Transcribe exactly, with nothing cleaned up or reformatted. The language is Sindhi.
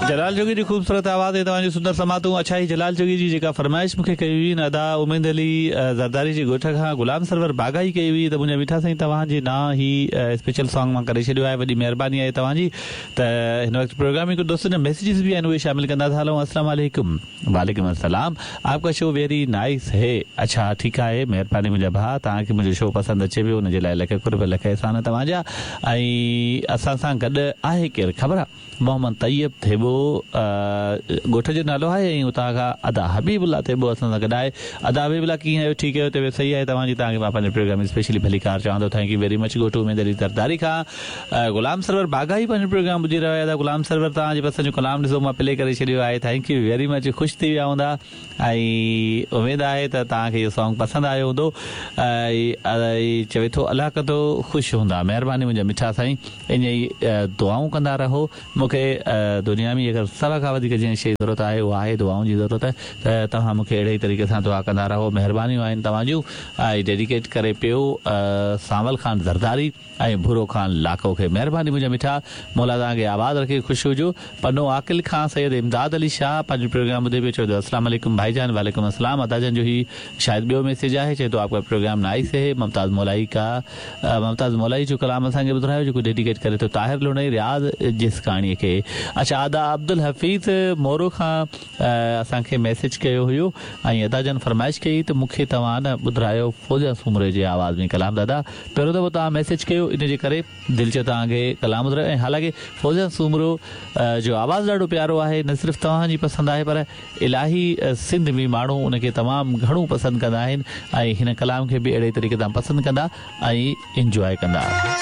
جلال جوڳي جي خوبصورت آواز ۽ توهان جون سندر سماعتون. اڇا هي جلال جوڳي جي جيڪا فرمائش مون کي ڪئي هئي نه ادا اميد علي زرداري جي ڳوٺ کان غلام سرور باغائي ڪئي هئي ته منهنجا مٺا سائين توهان جي نانء هي اسپيشل سانگ مان ڪري ڇڏيو آهي وڏي مهرباني آهي توهان جي ته هن وقت پروگرام ۾ ڪجهه دوستن جا ميسيجز به آهن اهي شامل ڪندا ٿا هلون. السلام عليڪم. وعليڪم السلام. آپ کا شو ويري نائس هي. اڇا ٺيڪ آهي مهرباني منهنجا ڀاء توهان کي منهنجو شو پسند اچي پيو ان جي لاء لک قرب لک احسان توهان جا. ۽ اسان سان گڏ آهي ڪير خبر آهي؟ محمد طيب ٿيٻو ڳوٺ جو نالو آهي ۽ اتان کان ادا حبيب الله ٿيٻو اسان سان گڏ آهي. ادا حبيب الله ڪيئن آهيو؟ ٺيڪ آهيو؟ طبيعت صحيح آهي توهان جي؟ توهان کي مان پنهنجي پروگرام ۾ اسپيشلي ڀليڪار چوان ٿو. Thank you very much. ڳوٺ اميد علي زرداري کان غلام سرور باغائي پنهنجو پروگرام ٻڌي رهيو آهي. ادا غلام سرور توهان جي پسند جو ڪلام ڏسو مان پلي ڪري ڇڏيو آهي. Thank you very much. خوش ٿي ويا هوندا ۽ اميد آهي ته توهان کي اهو سانگ پسند آيو هوندو. ۽ چوي ٿو الله ڪندو خوش هوندا. مهرباني منهنجا مٺا سائين، ائين ئي دعائون ڪندا رهو. مون کي دنيا ۾ اگر سڀ کان وڌيڪ جنهن شيء جي ضرورت آهي اها آهي دعائن جي ضرورت، ته توهان مون کي اهڙي ئي طريقي سان دعا ڪندا رهو. مهربانيون آهن توهان جون. ۽ ڊيڊيڪيٽ ڪري پيو سانول خان زرداري ۽ ڀورو خان لاکو کي. مهرباني منهنجا مٺا، مولا توهان کي آباد رکي، خوش هجو. پنو عاقل کان سيد امداد علي شاهه پنهنجو پروگرام ٻڌي پيو، چوي ٿو السلام عليڪم ڀائي جان. وعليڪم السلام. ادا جان جو هي شايد ٻيو ميسيج آهي، چوي ٿو آپ کا پروگرام نائس هي. ممتاز مولائي کا ممتاز مولائي جو ڪلام اسان کي ٻڌرايو جيڪو ڊيڊيڪيٽ ڪري ٿو طاهر لوڻائي رياض جسڪاڻي کي. اڇا ادا عبدالحفيظ مورو کان اسان کي ميسيج ڪيو هيو ۽ ادا جان فرمائش ڪئي ته مون کي توهان نه ٻڌرايو فوزيا سومري جي آواز ۾ ڪلام. دادا پهريون دفعو توهان ميسيج ڪيو ان جي ڪري دل چيو توهان کي ڪلام ٻڌرايو. ۽ حالانڪه فوزيا سومرو جو آواز ڏاڍو پيارو آهي، نه صرف توهان جي پسند آهي پر الاهي سنڌ ۾ ماڻهو ان کي تمام گهڻو پسند ڪندا آهن ۽ هن ڪلام کي به اهڙي طريقي سان پسند ڪندا ۽ انجواء ڪندا.